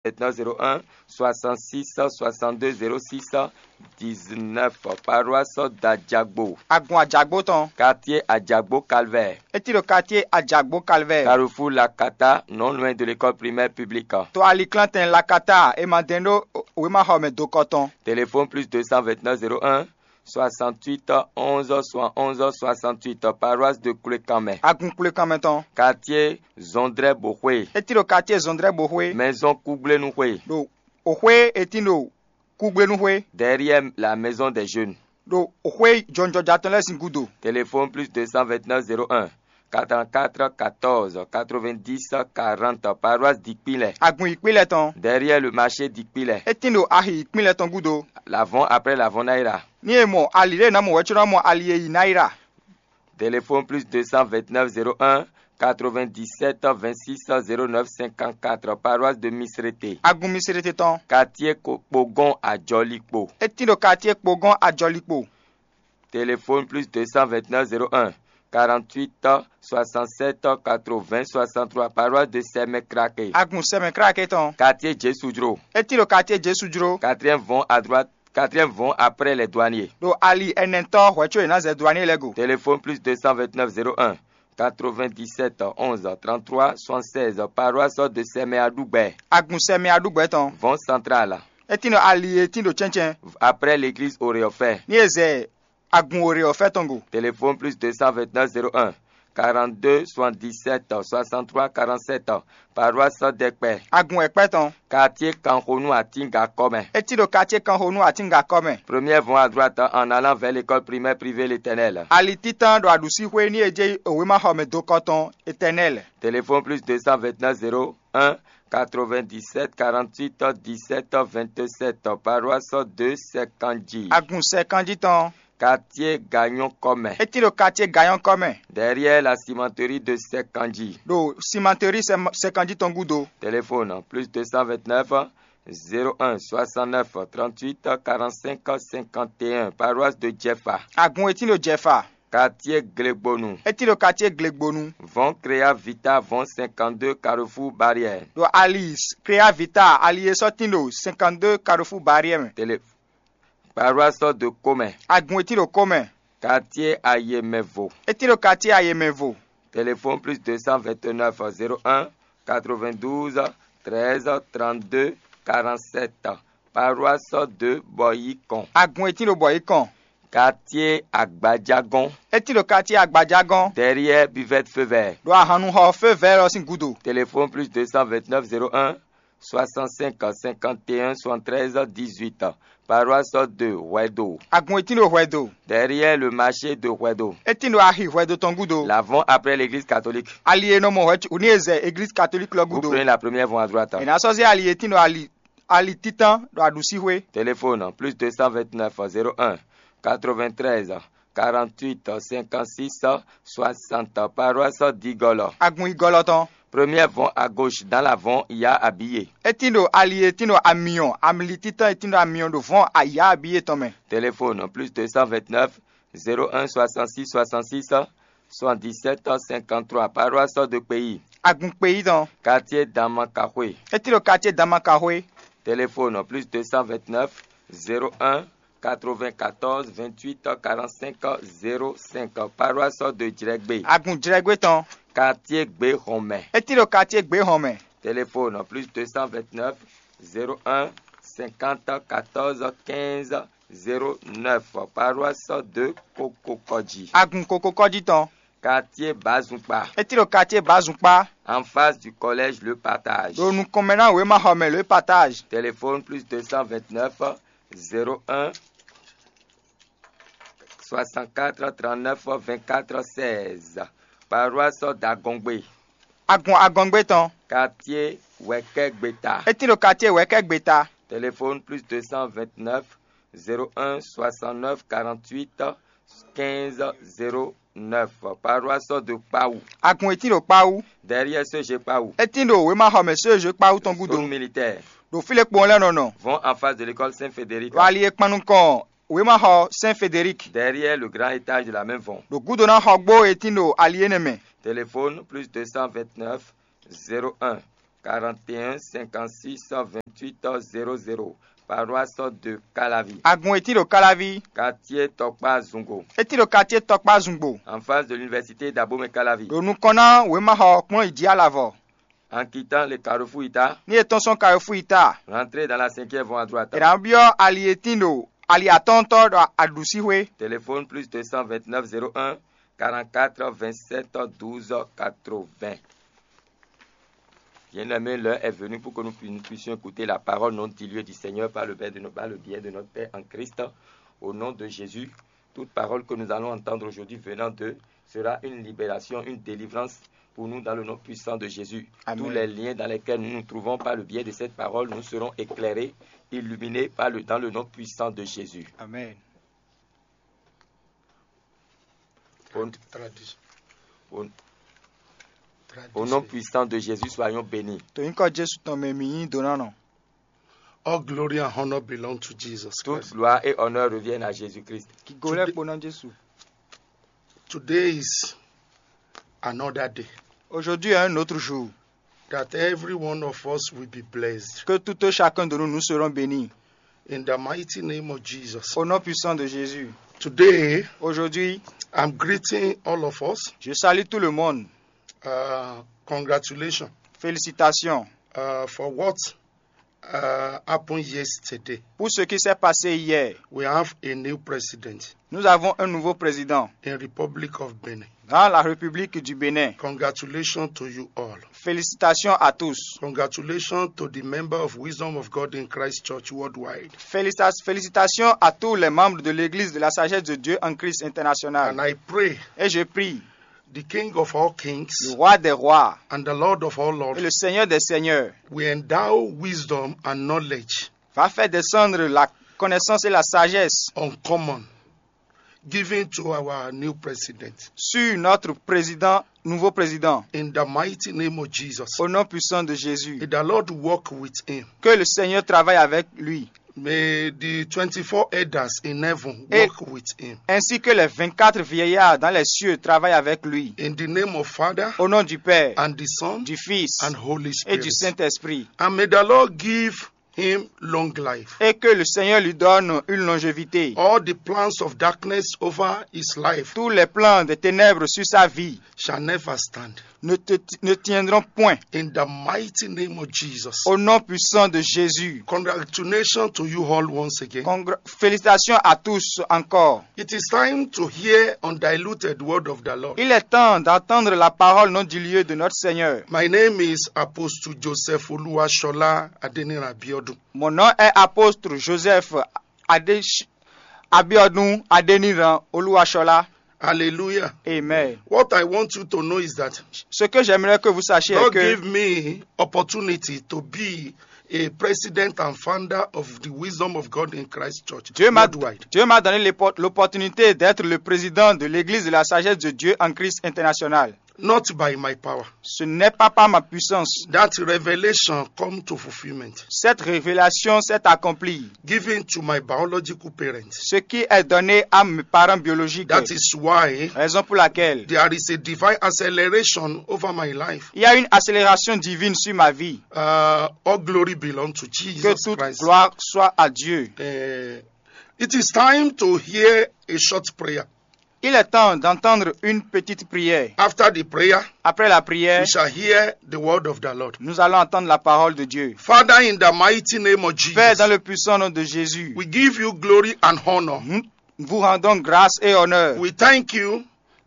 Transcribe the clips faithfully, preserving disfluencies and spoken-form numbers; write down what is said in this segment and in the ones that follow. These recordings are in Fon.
Maintenant zéro un soixante-six soixante-deux zéro six dix-neuf, paroisse d'Adjagbo. Agun Ajagbo tɔn. Quartier Adjagbo Calvaire. E ti ɖo quartier Ajagbo Calvaire. Carrefour Lakata, non loin de l'école primaire publique. To aliklantɛn Lakata e ma dɛn ɖó wema xɔ mɛ dokɔ tɔn. Téléphone plus deux cent vingt-neuf zéro un soixante-huit onze soixante-onze soixante-huit, paroisse de Koulékanmɛ. Agun Koulékanmɛ tɔn. Quartier Zondré Bohoué. E ti ɖo quartier Zondré Bohoué. Maison Kougblénouhoué. Ɖo Oxwé e tin ɖo Kúgblénúxwé. Derrière la maison des jeunes. Ɖo xwé jɔnjɔja tɔn lɛ́ɛ sín gúdo. Téléphone plus deux cent vingt-neuf zéro un quatre-vingt-quatre quatorze quatre-vingt-dix quarante, paroisse d'Ikpilɛ. Agun Ikpilɛ tɔn. Derrière le marché d'Ikpilɛ. E tin ɖo axi Ikpilɛ tɔn gúdo. L'avant après l'avant Naira. Ní e mɔ ali ɖé ná mɔ wɛ̌ có ná mɔ ali e yi Naira. Téléphone plus deux cent vingt-neuf zéro un quatre-vingt-dix-sept vingt-six zéro neuf cinquante-quatre, paroisse de Misrété. Agun Misrété tɔn. Quartier Kpogon Adjɔlikpo. E tin ɖo quartier Kpogon Adjɔlikpo. Téléphone plus deux cent vingt-neuf zéro un quarante-huit soixante-sept quatre-vingts soixante-trois, paroisse de Sɛmɛkrake. Agun Sɛmɛkrake tɔn. Quartier Jésudro. E tin ɖo quartier Jésudro. Quatrième vont à droite, quatrième vont après les douaniers. Ɖo ali ɛnɛtɔ́ hwɛ̌ có è nǎ zɛ douanier lɛ́ɛ go. Téléphone plus deux cent vingt-neuf zéro un quatre-vingt-dix-sept onze trente-trois soixante-seize, paroisse de Sɛmɛ Aɖugbɛ. Agun Sɛmɛ Aɖugbɛ tɔn. Vɔn Central. E tin ɖo ali e tin ɖo cɛ́ncɛn. Après l'église Oreofɛ. Ní e zɛ agun Oreofɛ tɔn go. Téléphone plus deux cent vingt-neuf zéro un quarante-deux soixante-dix-sept soixante-trois quarante-sept, paroisse Dɛkpɛ. Agun Ɛkpɛ tɔn. Quartier Kanxonu Atinga kɔmɛ. E tin ɖo quartier Kanxonu Atinga kɔmɛ. Première vont à droite en allant vers l'école primaire privée L'Éternel. Ali títán ɖo aɖǔsíxwé ní e jɛ wěmaxɔmɛ dokɔ tɔn Éternel. Téléphone plus deux cent vingt-neuf zéro un quatre-vingt-dix-sept quarante-huit dix-sept vingt-sept, paroisse de Sɛkanji. Agun Sɛkanji tɔn. Quartier Gagnon kɔmɛ. E tin ɖo quartier Gagnon kɔmɛ. Derrière la cimenterie de Sɛkanji. Ɖo cimenterie Sɛ-, Sɛkanji tɔn gúdo. Téléphone plus deux cent vingt-neuf zéro un soixante-neuf trente-huit quarante-cinq cinquante et un, paroisse de Jɛfa. Agun e tin ɖo Jɛfa. Quartier Glegbonu. E tin ɖo quartier Glegbonu. Vɔn Créa Vita vɔn cinquante-deux carrefour Barrière. Ɖo ali Créa Vita ali e sɔ́ tin ɖo cinquante-deux carrefour Barrière mɛ. Télé Paroisse de Komɛ. Agun e tin ɖo Komɛ. Quartier Ayemɛvo. E tin ɖo quartier Ayemɛvo. Téléphone plus deux cent vingt-neuf zéro un quatre-vingt-douze treize trente-deux quarante-sept. Paroisse de Bɔyikɔn. Agun e tin ɖo Bɔyikɔn. Quartier Agbajagɔn. E tin ɖo quartier Agbajagɔn. Derrière buvette feu vert. Ɖo ahannuxɔ feu vert ɔ́ sín gúdo. Téléphone plus deux cent vingt-neuf zéro un soixante-cinq cinquante et un soixante-treize dix-huit. Paroisse de Hwɛdo. Agun e tin ɖo Hwɛdo. Derrière le marché de Hwɛdo. E tin ɖo axi Hwɛdo tɔn gúdo. L'avant après l'église catholique. Ali e nɔ mɔ hwɛ ní e zɛ église catholique lɔ Vous gúdo. Prenez la première voie à droite. E ná sɔ́ zé ali e tin ɖo ali ali títán ɖo aɖǔsíxwé. Téléphone plus deux cent vingt-neuf zéro un quatre-vingt-treize quarante-huit cinquante-six soixante, paroisse d'Igolo. Agun Igolo tɔn. Première vont à gauche dans la vont il y a habillé. E tin ɖo ali e tin ɖo amiɔn, amli títán e tin ɖo amiɔn ɖo vɔn aya abiyé tɔn mɛ. Téléphone plus deux cent vingt-neuf zéro un soixante-six soixante-six soixante-dix-sept cinquante-trois, paroisse de pays. Agun kpeyí tɔn. Quartier Damakahwe. E tin ɖo quartier Damakahwe. Téléphone plus deux cent vingt-neuf zéro un quatre-vingt-quatorze vingt-huit quarante-cinq zéro cinq, paroisse de Djrɛgbé. Agun Djrɛgbé tɔn. Quartier Gbéhɔnmɛ. E tin ɖo quartier Gbéhɔnmɛ. Téléphone plus deux cent vingt-neuf zéro un cinquante quatorze quinze zéro neuf, paroisse de Kokokɔji. Agun Kokokɔji tɔn. Quartier Bazukpa. E tin ɖo quartier Bazukpa. En face du collège Le Partage. Ɖo nukɔn mɛ ná wěmaxɔmɛ Le Partage. Téléphone plus deux cent vingt-neuf zéro un soixante-quatre trente-neuf vingt-quatre seize. Paroisse d'Agongbe. Agun Agongbe tɔn. Quartier Wɛkɛgbeta. E tin ɖo quartier Wɛkɛgbeta. Téléphone plus deux cent vingt-neuf zéro un soixante-neuf quarante-huit quinze zéro neuf. Paroisse de Kpawu. Agun e tin ɖo Kpawu. Derrière C G Kpawu. E tin ɖo wěmaxɔmɛ C G Kpawu tɔn gúdo. Zone militaire. Ɖo fí lě kpɔn lɛ́ɛ nɔ nɔ. Vont en face de l'école Saint-Frédéric. Ɖo ali e kpan nukɔn wěmaxɔ Saint Frédéric. Derrière le grand étage de la même vont. Ɖo gúdo ná xɔ gbó e tin ɖo ali énɛ́ mɛ. Téléphone plus deux cent vingt-neuf zéro un quarante et un cinquante-six vingt-huit zéro zéro, paroisse de Calavi, Agun etí ɖo Káláví. Quartier Tɔkpa Zungo, Etí ɖo quartier Tɔkpa Zungbo. En face de l'université d'Abomey Calavi. Ɖo nukɔn ná wěmaxɔ kplɔ́n yi jí alavɔ. En quittant le carrefour Ita, Ní è tɔ́n sɔ́ kayɔfú yi ta. Rentrez dans la cinquième voie à droite. È nǎ byɔ́ ali e tín ɖo ali atɔ́ɔ́ntɔ́ ɖo aɖǔsíxwé. Téléphone plus deux cent vingt-neuf zéro un quarante-quatre vingt-sept douze quatre-vingts. Bien-aimés, l'heure est venue pour que nous pu- nous puissions écouter la parole non diluée du Seigneur par le biais de, no- par le biais de notre Père en Christ. Au nom de Jésus, toute parole que nous allons entendre aujourd'hui venant d'eux sera une libération, une délivrance pour nous dans le nom puissant de Jésus. Amen. Tous les liens dans lesquels nous nous trouvons par le biais de cette parole, nous serons éclairés, illuminés par le, dans le nom puissant de Jésus. Amen. Au, au- au nom puissant de Jésus, soyons bénis. To nyǐkɔ Jesu tɔn mɛ mǐ nyí donánɔ. All glory and honor belong to Jesus Christ. Toute gloire et honneur reviennent à Jésus-Christ. Kigolɛ kpo ná Jesu. Today is another day. Aujourd'hui est un autre jour. That every one of us will be blessed. Que tout et chacun de nous, nous serons bénis. In the mighty name of Jesus. Au nom puissant de Jésus. Today, aujourd'hui, I'm greeting all of us. Je salue tout le monde. Uh, congratulations. Félicitations. Uh, for what uh, happened yesterday. Pour ce qui s'est passé hier. We have a new president. Nous avons un nouveau président. In Republic of Benin. Dans la République du Bénin. Congratulations to you all. Félicitations à tous. Congratulations to the member of Wisdom of God in Christ Church worldwide. Félicita- félicitations à tous les membres de l'Église de la Sagesse de Dieu en Christ international. And I pray. Et je prie. The King of all kings. Le roi des rois. And the Lord of all lords. Et le Seigneur des seigneurs. Will endow wisdom and knowledge. Va faire descendre la connaissance et la sagesse. Uncommon. Given to our new president. Sur notre président, nouveau président. In the mighty name of Jesus. Au nom puissant de Jésus. May the Lord walk with him. Que le Seigneur travaille avec lui. May the twenty-four elders in heaven walk with him. Ainsi que les vingt-quatre vieillards dans les cieux travaillent avec lui. In the name of Father. Au nom du Père. And the Son. Du Fils. And Holy Spirit. Et du Saint-Esprit. And may the Lord give him long life. Et que le Seigneur lui donne une longévité. All the plans of darkness over his life. Tous les plans des ténèbres sur sa vie. Shall never stand. Ne, te- ne tiendront point. In the mighty name of Jesus. Au nom puissant de Jésus. Congratulations to you all once again. Congra- félicitations à tous encore. It is time to hear undiluted word of the Lord. Il est temps d'entendre la parole non diluée de notre Seigneur. My name is Apostle Joseph Oluwashola Adeniran Abiodun. Mon nom est apôtre Joseph Ade- Abiodun Adeniran Oluwashola. Hallelujah. Amen. What I want you to know is that ce que j'aimerais que vous sachiez est que give me opportunity to be a president and founder of the Wisdom of God in Christ Church. Dieu m'a Dieu m'a donné l'opportunité d'être le président de l'Église de la Sagesse de Dieu en Christ international. Not by my power. Ce n'est pas par ma puissance. That revelation come to fulfillment. Cette révélation s'est accomplie. Given to my biological parents. Ce qui est donné à mes parents biologiques. That is why. Raison pour laquelle. There is a divine acceleration over my life. Il y a une accélération divine sur ma vie. Uh, all glory belongs to Jesus Christ. Que toute gloire soit à Dieu. Uh, it is time to hear a short prayer. Il est temps d'entendre une petite prière. After the prayer, après la prière, we shall hear the word of the Lord. Nous allons entendre la parole de Dieu. Father, in the mighty name of Jesus, Père, dans le puissant nom de Jésus, we give you glory and honor. Nous vous rendons grâce et honneur. We thank you.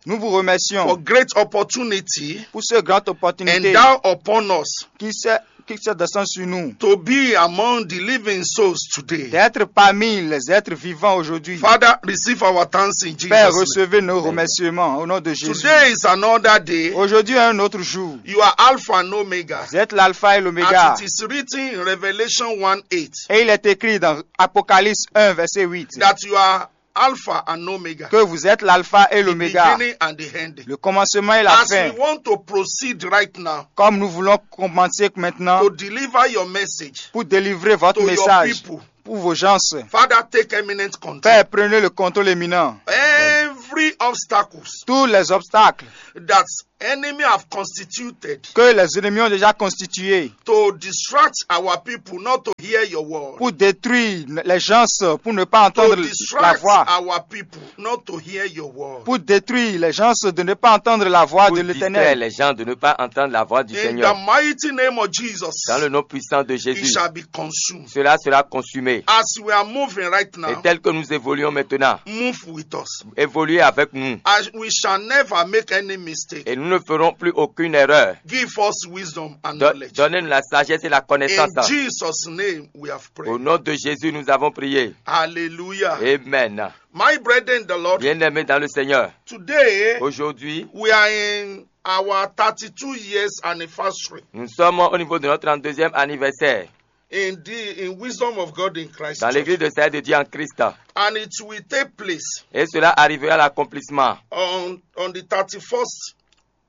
Nous vous remercions. For great opportunity. Pour ce grand opportunité. Endow upon us. Qui s'est qui se descend sur nous. To be among the living souls today. D'être parmi les êtres vivants aujourd'hui. Father, receive our thanks in Jesus' name. Père, recevez nos remerciements au nom de Jésus. Today is another day. Aujourd'hui est un autre jour. You are Alpha and Omega. Vous êtes l'alpha et l'oméga. As it is written in Revelation one eight. Et il est écrit dans Apocalypse un, verset huit. That you are Alpha and Omega. Que vous êtes l'alpha et l'oméga. The beginning and the end. Le commencement et la fin. As we want to proceed right now. Comme nous voulons commencer maintenant. To deliver your message. Pour délivrer votre message. To your people. Pour vos gens. Father, take eminent control. Père, prenez le contrôle éminent. Every obstacles. Tous les obstacles. That enemy have constituted que les ennemis ont déjà constitué to distract our people not to hear your word. Pour détruire les gens, pour ne pas entendre la distract voix, our people not to hear your word. Pour détruire les gens de ne pas entendre la voix de l'Éternel. Pour distraire les gens de ne pas entendre la voix du Seigneur. In the mighty name of Jesus, dans le nom puissant de Jésus, it shall be consumed. Cela sera consumé. As we are moving right now, et tel que nous évoluons maintenant, move with us. Évoluez avec nous. As we shall never make any mistake. Et nous ne ferons plus aucune erreur. Give us wisdom and knowledge. Donnez-nous la sagesse et la connaissance. In Jesus' name we have prayed. Au nom de Jésus, nous avons prié. Hallelujah. Amen. My brethren in the Lord, bien-aimés dans le Seigneur, today, aujourd'hui, we are in our thirty-two years anniversary. Nous sommes au niveau de notre trente-deuxième anniversaire. In the in wisdom of God in Christ, dans l'église de Saint de Dieu en Christ. And it will take place. Et cela arrivera à l'accomplissement. On, on the thirty-first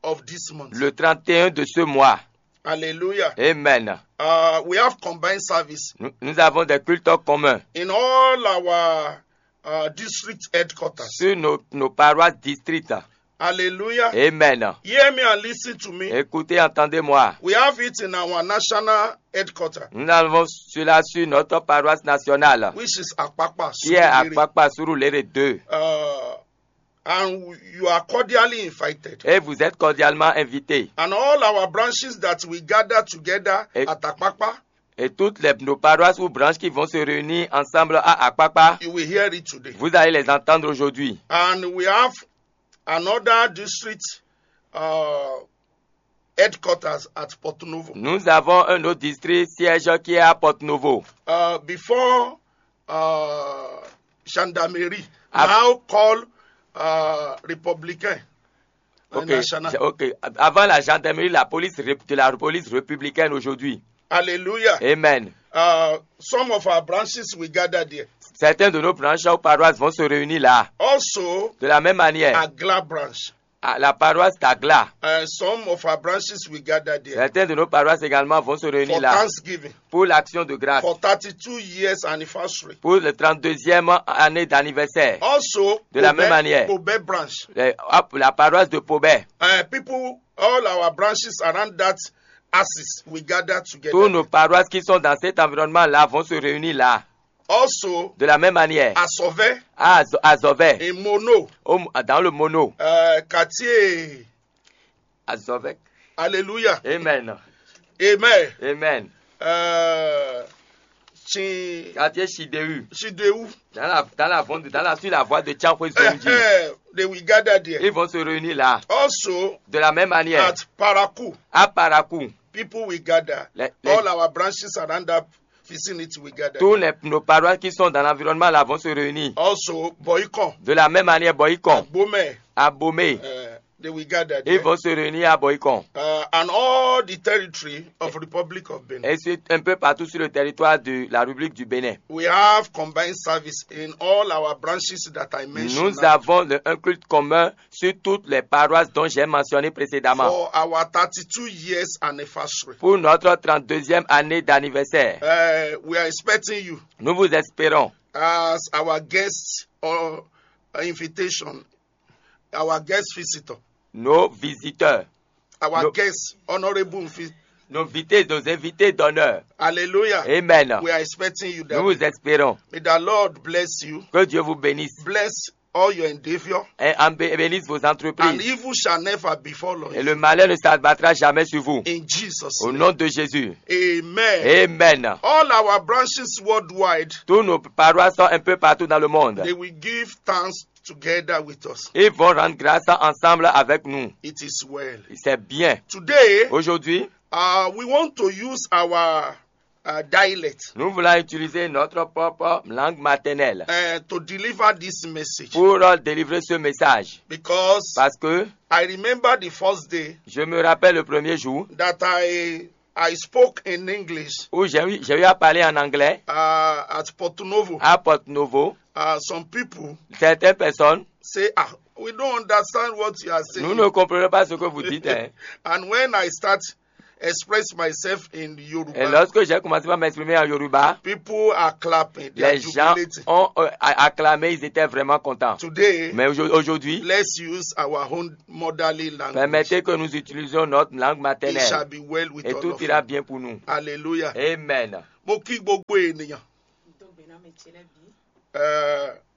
of this month. Le trente et un de ce mois. Hallelujah. Amen. Uh, we have combined service. Nous, nous avons des cultes communs. In all our uh, district headquarters. Sur nos, nos paroisses districts. Hallelujah. Amen. Hear me and listen to me. Écoutez, entendez-moi. We have it in our national headquarter. Nous avons cela sur notre paroisse nationale, which is Akpakpa, qui est à Surulere. Kpakpa Surulere deux. Uh, and you are cordially invited. Et vous êtes cordialement invités. And all our branches that we gather together, et at Akpakpa, et toutes les, nos paroisses ou branches qui vont se réunir ensemble à Akpakpa, you will hear it today. Vous allez les entendre aujourd'hui. And we have another district uh, headquarters at Porto Novo. Nous avons un autre district siège qui est à Porto Novo. Uh, before uh, gendarmerie, ah, now called uh, Républicain. Ok, national. Ok. Avant la gendarmerie, la police de la police républicaine aujourd'hui. Hallelujah. Amen. Uh, some of our branches will gather there. Certains de nos branches ou paroisses vont se réunir là. Also, de la même manière, Agla branch. Ah, la paroisse d'Agla. Uh, some of our branches will gather there. Certains de nos paroisses également vont se réunir là. For Thanksgiving. Pour l'action de grâce. For thirty-two years anniversary. Pour le trente-deuxième année d'anniversaire. Also, de la même manière, Pobé branch. La paroisse de Pobé. Uh, people, all our branches around that axis, we gather together. Tous nos paroisses qui sont dans cet environnement-là vont se réunir là. Also, de la même manière, Asove. À Azove. In Mono. Dans le Mono. Uh, quartier. Azove. Hallelujah. Amen. Amen. Amen. Uh, Chi- quartier Chideu. Chideu. Dans la, dans la, dans la, sur la voie de Tianfoué Zonji. Uh, they will gather there. Ils vont se réunir là. Also, de la même manière, at Parakou. À Parakou. People will gather. Les, les, all our branches around that vicinity will gather. Tous les, nos paroisses qui sont dans l'environnement là vont se réunir. Also, Boycon. De la même manière, Boycon. Abomey. Abomey. Uh, they will gather there. Ils vont se réunir à Boycon. Uh, and all the territory of Republic of Benin. Et c'est un peu partout sur le territoire de la République du Bénin. We have combined service in all our branches that I mentioned. Nous avons le, un culte commun sur toutes les paroisses dont j'ai mentionné précédemment. For our thirty-two years anniversary. Pour notre trente-deuxième année d'anniversaire. Uh, we are expecting you. Nous vous espérons. As our guest or invitation, our guest visitor. Nos visiteurs. Our guest, honorable invi- Nos invités, nos invités d'honneur. Hallelujah. Amen. We are expecting you there. Nous vous espérons. May the Lord bless you. Que Dieu vous bénisse. Bless all your endeavor. Et bénisse vos entreprises. And evil shall never befall you. Et le malheur ne s'abattra jamais sur vous. In Jesus' name. Au nom de Jésus. Amen. Amen. All our branches worldwide. Tous nos paroisses sont un peu partout dans le monde. They will give thanks together with us. Ils vont rendre grâce ensemble avec nous. It is well. C'est bien. Today, aujourd'hui, uh, we want to use our uh, dialect. Nous voulons utiliser notre propre langue maternelle. Uh, to deliver this message. Pour délivrer ce message. Because parce que I remember the first day. Je me rappelle le premier jour. That I I spoke in English. Où j'ai eu, j'ai eu à parler en anglais. Uh, at Porto Novo. À Porto Novo. Uh, some people. Certaines personnes. Say, ah, we don't understand what you are saying. Nous ne comprenons pas ce que vous dites. Hein. And when I start express myself in Yoruba. Et lorsque j'ai commencé par m'exprimer en Yoruba, people are clapping, they are jubilating. Les gens ont euh, acclamé, ils étaient vraiment contents. Today, mais aujourd'hui, let's use our own motherly language. Permettez que nous utilisions notre langue maternelle. It shall be well with all of you. Et tout ira bien pour nous. Hallelujah. Amen. Mo kí gbogbo ènìyàn.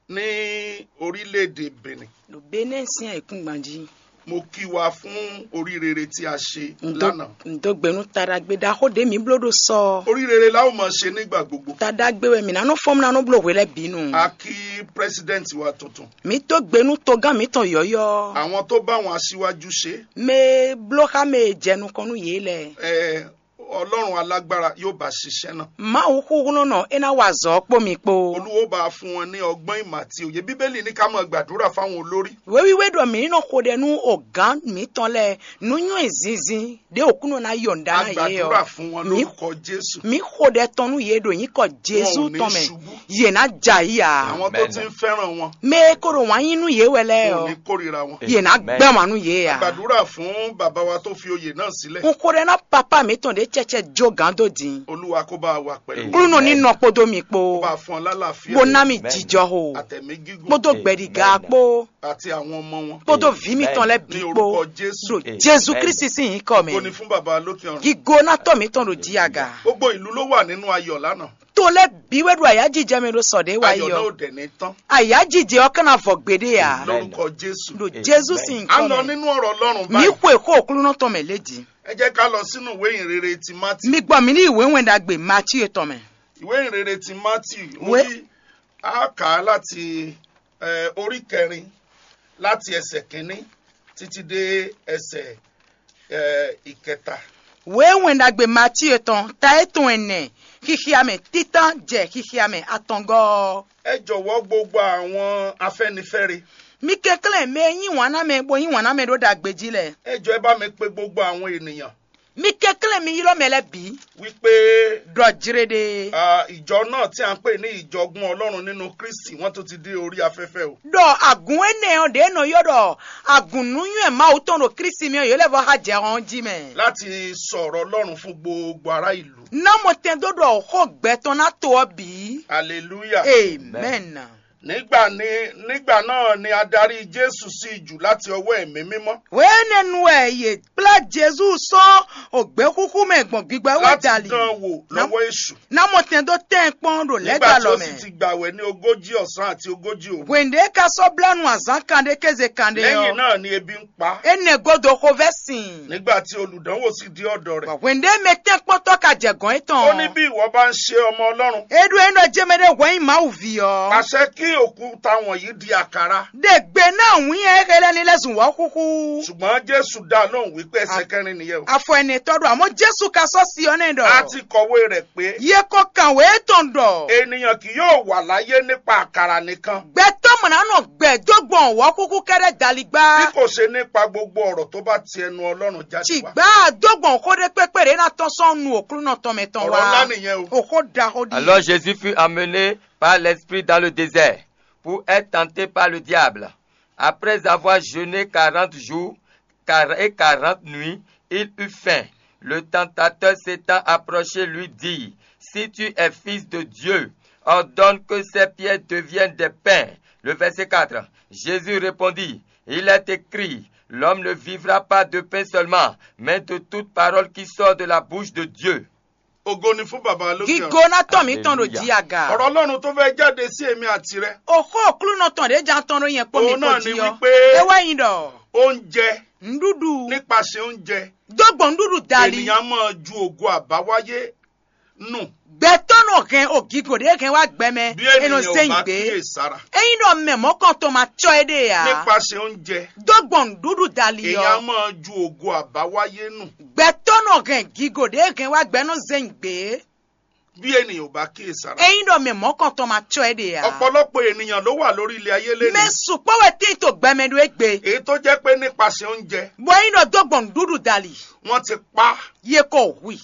Ní orílẹ̀-èdè Benin. Ɖo Benɛ́ sín ayǐkúngban jí. Mo kí wa fún oríire tí a ṣe lánàá. Ndo gbe nú taɖagbe ɖaxó ɖé mǐ bló ɖo sɔ. Oríire la ó máa ṣe nígbà gbogbo. Taɖagbe wɛ mǐ ná nɔ fɔ́n ná nɔ bló hwe lɛ́ɛ bǐ nu. A kí president wa tuntun. Mǐ dó gbe nú togán mǐtɔn yɔ̌yɔ́. Àwọn tó bá wọn aṣíwájú ṣe. Mɛ bló xá mɛ e jɛ nukɔn nú yě lɛ́ɛ. Ẹ Ọlọ́run alágbára yóò bá ṣiṣẹ́ náà. Mawu xúxúnɔnɔ é ná wa azɔ̌ kpó mi kpó. Olúwo bá fún wọn ní ọgbọ́n ìmọ̀ àti òye. Bíbélì ní ká máa gbàdúrà fáwọn olórí. Wéwíwé ɖɔ mǐ ní nɔ xo ɖɛ nú ògán mǐtɔn lɛ́ɛ nú nywɛ́ zinzin ɖé òkúnɔ ná yɔ̀ǹda ná yě ɔ́. A gbàdúrà fún wọn lórúkọ Jésù. Mǐ xo ɖɛ tɔn nú yě ɖo nyǐkɔ Jésù tɔn mɛ. Yě ná jɛ ayǐ ǎ. Àwọn tó ti ń fẹ́ràn wọn. Mɛ e ko ɖo wǎn yí nú yě wɛ lɛ́ɛ ɔ́, ò ní kórìíra wọn. Yě ná gbɛ́ wǎn nú yě ǎ. A gbàdúrà fún bàbá wa tó fi oyè náà sílẹ̀. Un xo ɖɛ ná papá mǐtɔn ɖě cɛcɛ jó gǎn dó din. Olúwa kó bá wa pẹ̀lú. Klúnɔ ní nɔ kpódó mi kpó. Kó bá fún ọ lálàáfíà. Bó ná mi jijɔ ho. Àtẹ̀mí gígùn. Kpódó gbɛ̀ɖígá kpó. Àti àwọn ọmọ wọn. Kpódó vǐ mitɔn lɛ́ɛ bǐ kpó. Ní orúkọ Jésù. Ɖo Jésù Kristi sín nyǐkɔ mɛ. Kó ní fún bàbá lókè ọ̀run. Gígó ná tɔ́ mǐtɔn ɖo jí aga. Gbogbo ìlú ló wà nínú ayọ̀ lánàá. To lɛ́ɛ bǐ wɛ ɖo ayǎjijɛ mɛ ɖo sɔ ɖě wá yi ɔ́. Ayọ̀ náà ò dẹ̀ ní tán. Ayǎjijɛ ɔ́ ka ná vɔ gbeɖé ǎ. Lórúkọ Jésù. Ɖo Jésù sín nyǐkɔ mɛ. A lọ nínú ọ̀rọ̀ Ọlọ́run báyìí. Mǐ xwe xó Aklúnɔ tɔn mɛ lě jí. Ɛ jẹ́ ká lɔ sínú ìwé ìhìnrere ti Mátì. Mi gbɔ mǐ ní ìwé wɛn ɖagbe Matíu tɔn mɛ. Ìwé ìhìnrere ti Mátì. Ìwé. Orí a kà á láti ẹ, orí kẹrin láti ẹsẹ̀ kínní títí dé ẹsẹ̀ ẹ, ìkẹta. Wěwɛn ɖagbe Matíe tɔn ta e tɔn ɛnɛ, xixia mɛ títán jɛ xixia mɛ atɔngɔ́ ɔ́. Ẹ jọ̀wọ́ gbogbo àwọn afẹ́nifẹ́re. Mi kɛnklɛ́n mɛ e yí wǎn ná mɛ bó yí wǎn ná mɛ ɖó ɖagbe jí lɛ́ɛ. Ẹ jọ ẹ bá mi pe gbogbo àwọn ènìyàn. Mi kɛnklɛ́n mi ylɔ́ mɛ lɛ́ɛ bǐ. Wípé ɖɔ jlé ɖe. Ah, ìjọ náà tí a ń pè ní ìjọgbọ́n Ọlọ́run nínú Kristi, wọ́n tún ti dé orí afẹ́fẹ́ o. Ɖɔ agǔn énɛ́ ɔ́ ɖě nɔ ylɔ́ ɖɔ agǔn nú nywɛ́ Mawu tɔn ɖo Kristi mɛ ɔ́, yě lɛ́ vɔ xá jɛ hɔn jí mɛ. Láti sọ̀rọ̀ Ọlọ́run fún gbogbo ará ìlú. Ná mɔ tɛn dó ɖɔ xó gbɛ tɔn ná to ɔ́ bǐ. Hallelujah. Amen. Nígbà ní nígbà náà ni adarí Jésù sí jù láti ọwọ́ ẹ̀mí mímọ́. Wěnɛnu wɛ yě kplá Jezu sɔ́ ògbéxúxú mɛ gbɔn gbígbá wɛ láti dali. Dán wò lọ́wọ́ èṣù. Ná mɔ tɛn dó tɛn kpɔ́n ɖo lɛ́ Nígbà tí galɔ ó sì mɛ. Ti gbàwẹ̀ ní ogójì ọ̀sán àti ogójì òru. Hwěnɖé ka sɔ́ blá nu azǎn kanɖé kéze kanɖé lẹ́yìn ɔ́. Náà ni ebi ń pa á. Énɛ́ gúdo xovɛ́ sin. Nígbà tí olùdánwò sì dé ọ̀dọ̀ rẹ̀. Hwěnɖé mɛ tɛ́nkpɔ́ntɔ́ ka jɛ gɔ̌n étɔn. Ó ní bí ìwọ bá ń ṣe ọmọ Ọlọ́run. É ɖó é nɔ jẹ́ mɛ ɖé hwɛ̌ nyí Mawu ví ɔ́. Pàṣẹ kí òkúta wọ̀nyí di àkàrà. Ɖe gbe ná wǐn e é lɛ́ ní lɛ́ zun wɔ̌xúxú. Ṣùgbọ́n Jésù dá lóhùn wípé ẹsẹ̀ kẹrin nìyẹn o. Afɔ ɛnɛtɔ́ ɖɔ àmọ́ Jésù ka sɔ́ si ɔ́ nɛ́ ɖɔ. A ti kɔ̀wé rẹ̀ pé. Yě kɔ kàn wě tɔn ɖɔ. Ènìyàn kì yóò wà láyé nípa àkàrà nìkan. Gbɛtɔ́ mɔ̌ ná nɔ gbɛ dó gbɔn wɔ̌xúxú kɛ́ɖɛ́ daligbá. Bí kò ṣe nípa gbogbo ọ̀rọ̀ tó bá ti ẹnu Ọlọ́run jáde wá. Tìgbà dó gbɔn xó ɖé kpékpé ɖě ná tɔ́n sɔ́ nu òklúnɔ tɔn mɛ tɔn wá. Ọ̀rọ̀ ńlá nìyẹn o. Òxó ɖaxó ɖi. Alors Jésus fut amené par l'Esprit dans le désert pour être tenté par le diable. Après avoir jeûné quarante jours et quarante nuits, il eut faim. Le tentateur s'étant approché lui dit, si tu es fils de Dieu, ordonne que ces pierres deviennent des pains. Le verset quatre. Jésus répondit, il est écrit, l'homme ne vivra pas de pain seulement, mais de toute parole qui sort de la bouche de Dieu. Ògo ni fún bàbá lókè ọ̀run. Gígó ná tɔn mǐ tɔn ɖo jí aga. Ọ̀rọ̀ Ọlọ́run tó fẹ́ jáde sí èmi àti rẹ. Òxó òklúnɔ tɔn ɖě jan tɔn ɖó yẹn kpó mi kpó jí ọ́. Òun náà ni wípé. Ewé yin ɖɔ. Oúnjẹ. Nɖúɖu. Nípasẹ̀ oúnjẹ. Dógbò nɖúɖu dali. Ènìyàn máa ju ògo àbáwáyé nù. Gbɛtɔ́ nɔ hɛn o gígó ɖě hɛn wá gbɛ mɛ. Bí ènìyàn ò bá kíyèsára. Ényí ɖɔ mɛ mɔ̌kɔntɔn ma cɔ é ɖe ǎ. Nípasẹ̀ oúnjẹ. Dógbò nɖúɖu dali ɔ. Èèyàn máa ju ògo àbáwáyé nù. Gbɛtɔ́ nɔ hɛn gígó ɖě hɛn wá gbɛ nɔ zɛ́n gbě. Bí ènìyàn ò bá kíyèsára. Ényí ɖɔ mɛ mɔ̌kɔntɔn ma cɔ é ɖe ǎ. Ọ̀pọ̀lọpọ̀ ènìyàn ló wà lórí ilẹ̀ ayé lẹ́nu. Mɛ sukpɔ́ wɛ tín to gbɛmɛ ɖó égbé. Èyí tó jẹ́ pé nípasẹ̀ oúnjẹ. Bɔ ényí ɖɔ dógbò nɖúɖu dali. Wọ́n ti pa. Yé kɔ hui.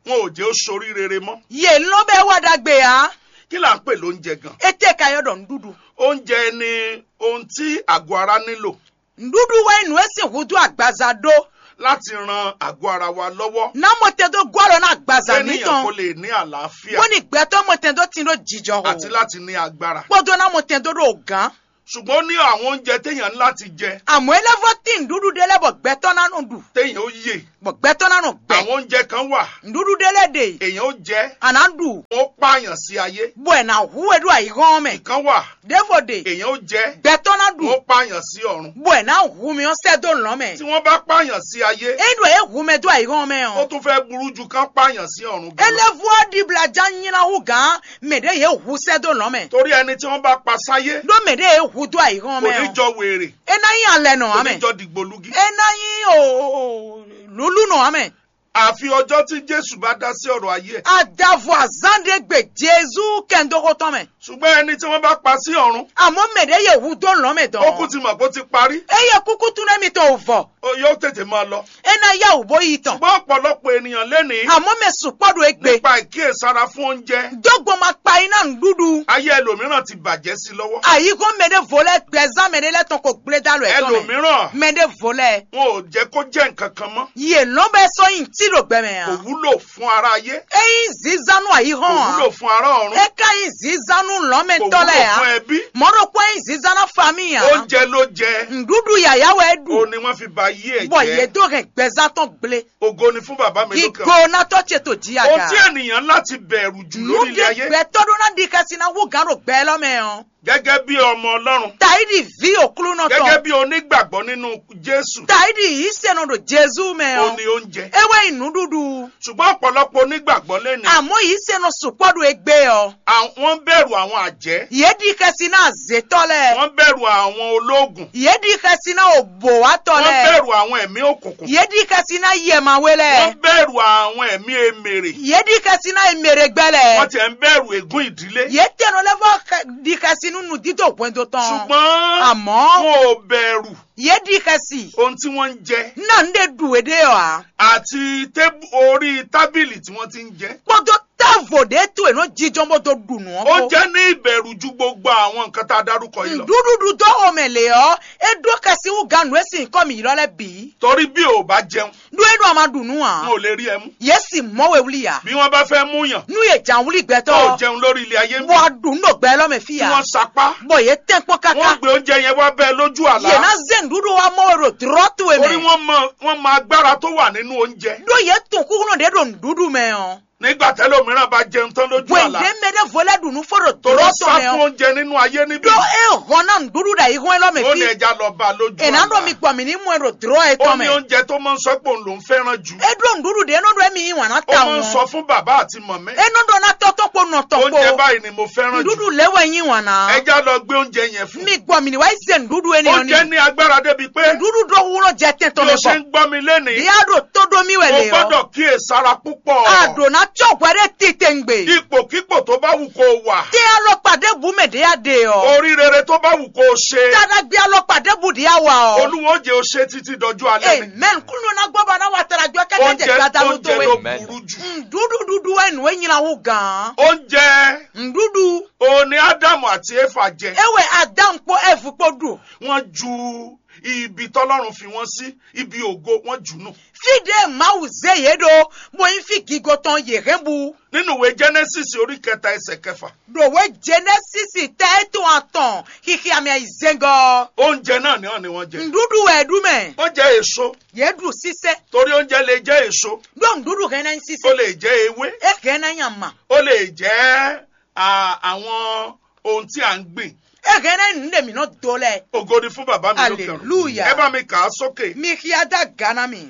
Wọn ò jẹ́ ó sorí rere mọ́. Yě lɔ́n bɛ wá ɖagbe ǎ. Kí là ń pè lóúnjẹ gan? Étɛ́ ka yɔ ɖɔ nɖúɖu? Oúnjẹ ni ohun tí àgọ́ ara nílò. Nɖúɖu wɛ nyí nǔ e sín húdú agbaza ɖó. láti ran àgọ́ ara wa lọ́wọ́. Ná mɔtɛn dó gɔ́ alɔ ná agbaza mǐtɔn. Kéèyàn kó lè ní àlàáfíà. Bóni gbɛtɔ́ mɔtɛn dó tin ɖó jijɔ ho. Àti láti ní agbára. Kpódó ná mɔtɛn dó ɖo gǎn. Ṣùgbọ́n ó ní àwọn oúnjẹ téèyàn ní láti jẹ. Àmọ́ é lɛ́ vɔ́ tín nǔɖuɖu ɖé lɛ́ɛ bɔ gbɛtɔ́ ná nɔ ɖu. Téèyàn ó yè. Bɔ gbɛtɔ́ ná nɔ gbɛ. Àwọn oúnjẹ kan wà. Nǔɖuɖu ɖé lɛ́ɛ ɖe. Èèyàn ó jẹ. À ná ɖu. Wọ́n pààyàn sí ayé. Bɔ è nǎ hu we ɖó ayǐhɔ́n mɛ. Ìkan wà. Ɖěvo ɖe. Èèyàn ó jɛ. Gbɛtɔ́ ná ɖu. Wọ́n pààyàn sí ọ̀run. Bɔ è nǎ hu mi ɔ́ sɛ́ dó lɔ̌n mɛ. Tí wọ́n bá pààyàn sí ayé. É ɖo é hu mɛ dó ayǐhɔ́n mɛ ó ɔ́. Tún fẹ́ burú ju kán pààyàn sí ọ̀run É gan. Lɛ́ vú ɔ́ ɖibla já nyina hú gǎn mɛ ɖě yě hu sɛ́ dó lɔ̌n mɛ. Torí ẹni tí wọ́n bá pa sáyé. Ɖó mɛ ɖě yě hu dó ayǐhɔ́n Kò mɛ ní ɔ́. Jọ wèrè. É ná nyí alɛ nɔ Kò ǎ ní mɛ. Jọ dìgbòlugi. É ná nyí o lúlú nɔ ǎ mɛ. Àfi ọjọ́ tí Jésù bá dá sí ọ̀rọ̀ ayé ẹ̀. Adavo azán ɖé gbe Jezu kɛndóxó tɔn mɛ. Ṣùgbọ́n ẹni tí wọ́n bá pa sí ọ̀run. Àmọ́ mɛ ɖě yě hu dó lɔ̌n mɛ dɔn. Ó kú ti mọ̀ bó ti parí. Eye kúkú tún nɛ́ mitɔn ò vɔ. Ó yóò tètè máa lọ. É ná yá wǔ bó yi tɔn. Ṣùgbọ́n ọ̀pọ̀lọpọ̀ ènìyàn lénìí. Àmọ́ mɛ sukpɔ́ ɖo égbé. Nípa ìkíyèsára fún oúnjẹ. Dógbó ma kpa iná nǔɖuɖu. Ayé ẹlòmíràn ti bàjẹ́ sí lọ́wọ́. Àyíkó mɛ ɖé vo lɛ́ɛ gbɛzán mɛ ɖé lɛ́ɛ tɔn ko gblé dá lɔ ẹ̀ tɔn mɛ. Ẹlòmíràn. Mɛ ɖé vo lɛ́ɛ. Wọn ò jẹ́ kó jẹ́ nǹkan kan mọ́. Yě lɔ́n bɛ́ sɔ́ nyi tí ɖo gbɛ mɛ Kò ǎ. Wúlò fún aráyé. É nyí zǐzánú Kò àyíhɔ́n ǎ. Wúlò fún ará ọ̀run. É ka nyí zǐzánú Kò lɔ̌nmɛtɔ́ wúlò lɛ́ɛ ǎ. Fún ẹbí. Mɔ̌ ɖokpó é nyí zǐzánú famí ǎ. Oúnjẹ ló jẹ. Nǔɖuɖu yǎyá wɛ é ɖu. Ó ní wọ́n fi ba yí ẹ̀ Bɔ jẹ́. Yě dó hɛn gbɛzán tɔn gblé. Ògo ni fún bàbá mi lókè ọ̀run. Gigo ná tɔ́ ce tó jí Ohun aga. Tí ènìyàn láti bẹ̀rù jù Nú lórí ilé ɖé ayé. Gbɛtɔ́ ɖó ná ɖi xɛsi ná wú gǎn ɖo gbɛ lɔ́ mɛ ɔ́. Gẹ́gẹ́ bí ọmọ Ọlọ́run. Tàíɖì ví òklúnɔ tɔn. Gẹ́gẹ́ bí onígbàgbọ́ nínú Jésù. Tàíɖì yìí sɛnɔ ɖo Jezu mɛ Ó ɔ́. Ní oúnjẹ. É wɛ nyí nǔɖuɖu. Ṣùgbọ́n ọ̀pọ̀lọpọ̀ onígbàgbọ́ lénìí. Àmọ́ yìí sɛnɔ sukpɔ́ ɖo égbé ɔ́. Àwọn ń bẹ̀rù àwọn àjẹ́. Yě ɖi xɛsi ná azětɔ́ lɛ́ɛ. Wọ́n ń bẹ̀rù àwọn olóògùn. Yě ɖi xɛsi ná òbòwátɔ́ Wọ́n ń lɛ́ɛ. Bẹ̀rù àwọn ẹ̀mí òkùnkùn. Yě ɖi xɛsi ná yɛmawé Wọ́n lɛ́ɛ. Ń bẹ̀rù àwọn ẹ̀mí èmèrè. Yě ɖi xɛsi ná emèrègbɛ Wọ́n lɛ́ɛ. Tiẹ̀ ń bẹ̀rù ègún ìdílé. Yě tɛnɔ lɛ́ vɔ xɛ- ɖi xɛsi nú nǔdídó hwɛndo tɔn. Ṣùgbọ́n Àmọ́ wọn ò bẹ̀rù yě ɖi xɛsi. Ohun tí wọ́n ń jẹ. Ná ń ɖe ɖu èɖé ɔ́ ǎ. Àti tébù- orí tábìlì tí wọ́n ti ń jẹ. Kpódó távo ɖě to è nɔ jijɔ bó dó ɖu nǔ ɔ́ Ó kpó. Jẹ́ ní ìbẹ̀rù ju gbogbo àwọn nǹkan tá a dárúkọ yìí lọ. Nǔɖuɖu dó xomɛ lě ɔ́, é ɖó xɛsi wú gǎn nǔ e sin kɔ́ mǐ ylɔ́ lɛ́ɛ bǐ. Torí bí o ò bá jẹun, Ɖó é ɖo ama ɖu nǔ ǎ. Wọn ò lè rí ẹ mú. Yě sì mɔ́ we wlí ǎ. Bí wọ́n bá fẹ́ mú yàn, Nú yě jǎn wlí gbɛtɔ́ Tó o ɔ́, jẹun lórí ilé ayé ń bɔ bí. A ɖu nú ɖo gbɛ lɔ́ mɛ fí Tí ǎ. Wọ́n sapá. Bɔ yě tɛ́n kpɔ́n káká. Wọ́n gbé oúnjẹ yẹn wá bẹ́ẹ̀ lójú àlá. Yě ná zé nǔɖuɖu wá mɔ we ɖo dlɔ́ towe mɛ. Torí wọ́n mọ, wọ́n mọ agbára tó wà nínú oúnjẹ. Ɖó yě tunwun kúkúnɔ ɖě ɖo nǔɖuɖu mɛ ɔ́. Nígbà tẹ́lòmíràn bá jẹun tán lójú àlá. Wěndé mɛ ɖé vo lɛ́ ɖu nú fó ɖo Tó ló dlɔ́ sá tɔn mɛ fún ɔ́. Oúnjẹ nínú ayé níbí. Ɖó é hɔn ná nǔɖuɖu ɖo ayihɔn élɔ́ mɛ Ó ní fí. Ẹja lọ bá lójú È nǎ ɖɔ àlá. Mi gbɔ mǐ ní mɔ ẹ ɖo dlɔ́ ẹ Ó tɔn ní mɛ. Oúnjẹ tó máa ń sọ pé òun lòún fẹ́ràn jù. É ɖó nǔɖuɖu ɖě é nɔ ɖɔ émí yí wǎn ná Ó ta máa ń wọn. Sọ fún bàbá àti mọ̀mẹ́. É nɔ ɖɔ ná tɔ́ tɔn kpo nɔ tɔn kpo. Oúnjẹ báyìí ni mo fẹ́ràn jù. Nǔɖuɖu lě wɛ yí wǎn ná. Ẹja lọ gbé oúnjẹ yẹn fún. Mi gbɔ mǐ ní wá yi se nǔɖuɖu énɛ́ Ó ɔ́ jẹ́ n'i. Ní agbára débi pé Nǔɖuɖu ɖó wúlò jẹ tɛn tɔn bí mɛ o ṣe bɔ. Ń gbọ́ mi lénìí, Ìyá ɖo tó ɖó mì wɛ o lě ɔ́. Gbọ́dọ̀ kíyèsára púpọ̀. A ɖǒ ná cɔ́ hwɛ ɖé titewungbe. Ipòkípò tó bá wù kó o wà. Tɛ alɔkpa ɖěbǔ mɛ ɖě a ɖe ɔ́. Orí rere tó bá wù kó o ṣe. Taɖagbe alɔkpa ɖěbǔ ɖě a wa ɔ́. Olúwo ó jẹ́ o ṣe títí dọjú alẹ́ ni. Amen. Kúnú ná gbọ́ bá ná wa taɖagbe ɔ́ kɛ́kẹ́ jɛ Oúnjẹ gbadanu oúnjẹ tó ló wɛ. Burú jù. Nǔɖuɖu ɖuɖu wɛ nǔ e nyla wú gǎn. Oúnjẹ Nǔɖuɖu. O ní Ádámù àti Éfà jẹ. E wɛ Adámu kpó Ɛvu kpó ɖu. Wọ́n ju ibi tọ́lọ́run fi wọ́n sí, ibi ògo, wọ́n jù nù. Fí ɖě Mawu zé yě ɖó, bó nyí fí gigo tɔn yě hɛn bu. Nínú ìwé Jẹ́nẹ́sísì orí kẹta ẹsẹ̀ kẹfà. Ɖo wě Jenɛsísi tɛ étɔn atɔn xixia mɛ yi zɛngɔ. Oúnjẹ náà ni wọ́n ni wọ́n jẹ. Nǔɖuɖu wɛ ɖu mɛ. Wọ́n jẹ èso. Yě ɖu sísɛ. Torí oúnjẹ lè jẹ́ èso. Ɖó nǔɖuɖu hɛn ná nyí sísɛ. Ó lè jẹ́ ewé. É hɛn ná nyí ama. Ó lè jẹ́ a, àwọn ohun tí à ń gbìn. É hɛn ná nyí nǔ ɖe mǐ nɔ do lɛ. Ògo ni fún bàbá mi lókè ọ̀run. Hallelujah. Ẹ bá mi kà á sókè. Mi xia dá gǎ ná mì.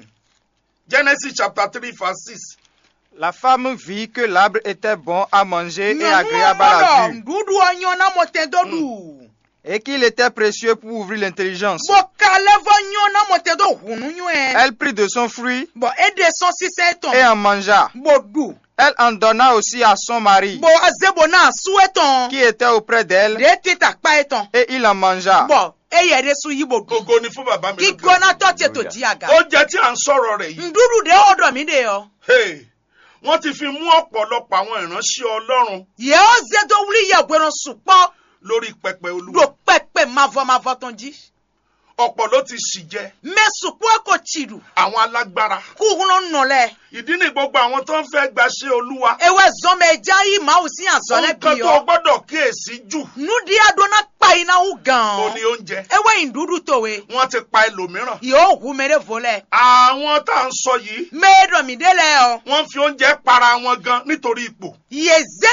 Genesis chapter three verse six. La femme vit que l'arbre était bon à manger et agréable à la vue. Nǔɖuɖu ɔ́ nyɔ́ ná mɔ tɛn dó ɖu. Et qu'il était précieux pour ouvrir l'intelligence. Bó ka lɛ́ vɔ nyɔ́ ná mɔ tɛn dó hǔn nú nywɛ. Elle prit de son fruit. Bɔ é ɖe sɔ́n sísɛ étɔn. Et en mangea. Bó ɖu. Elle en donna aussi à son mari. Bó zé bó ná asú étɔn. Qui était auprès d'elle. Ɖě tita kpá étɔn. Et il en mangea. Bɔ éyɛ ɖésú yí bó ɖu. Ògo ni fún bàbá mi lókè. Kíkónátɔ́ ce tó jí aga. Oúnjẹ tí à ń sọ̀rọ̀ rẹ̀ yìí. Nǔɖuɖu ɖě ó ɖɔ mǐ ɖe ɔ́. Hey, wọ́n ti fi mú ọ̀pọ̀lọpọ̀ àwọn ìránṣẹ́ Ọlọ́run. Yě ó zé dó wlí yɛhwenɔ sukpɔ́. Lórí pẹpẹ Olúwa. Ɖo kpɛkpɛ mavɔ mavɔ tɔn jí. Ọ̀pọ̀ ló ti ṣì jẹ. Mɛ sukpɔ́ ko tsi ɖu. Àwọn alágbára. Kúhlɔ́nnɔ lɛ́ɛ. Ìdí ni gbogbo àwọn tó ń fẹ́ gbaṣẹ́ Olúwa. Ewé zɔn mɛ já yí Mawu sín azɔ̌ lɛ́ Nǹkan bì tó ɔ́. Gbọ́dọ̀ kíyèsí jù. Nú ɖíaɖó ná kpa yi ná wú gàn Ó ɔ́. Ní oúnjẹ. Ewé yin ɖuɖu towe. Wọ́n ti pa ẹlòmíràn. Yóò hu mɛ ɖé vo lɛ. Àwọn tá à ń sọ yìí. Mɛ e ɖɔ mǐ ɖe lɛ ɔ́. Wọ́n fi oúnjẹ para wọn gan nítorí ipò. Yě zé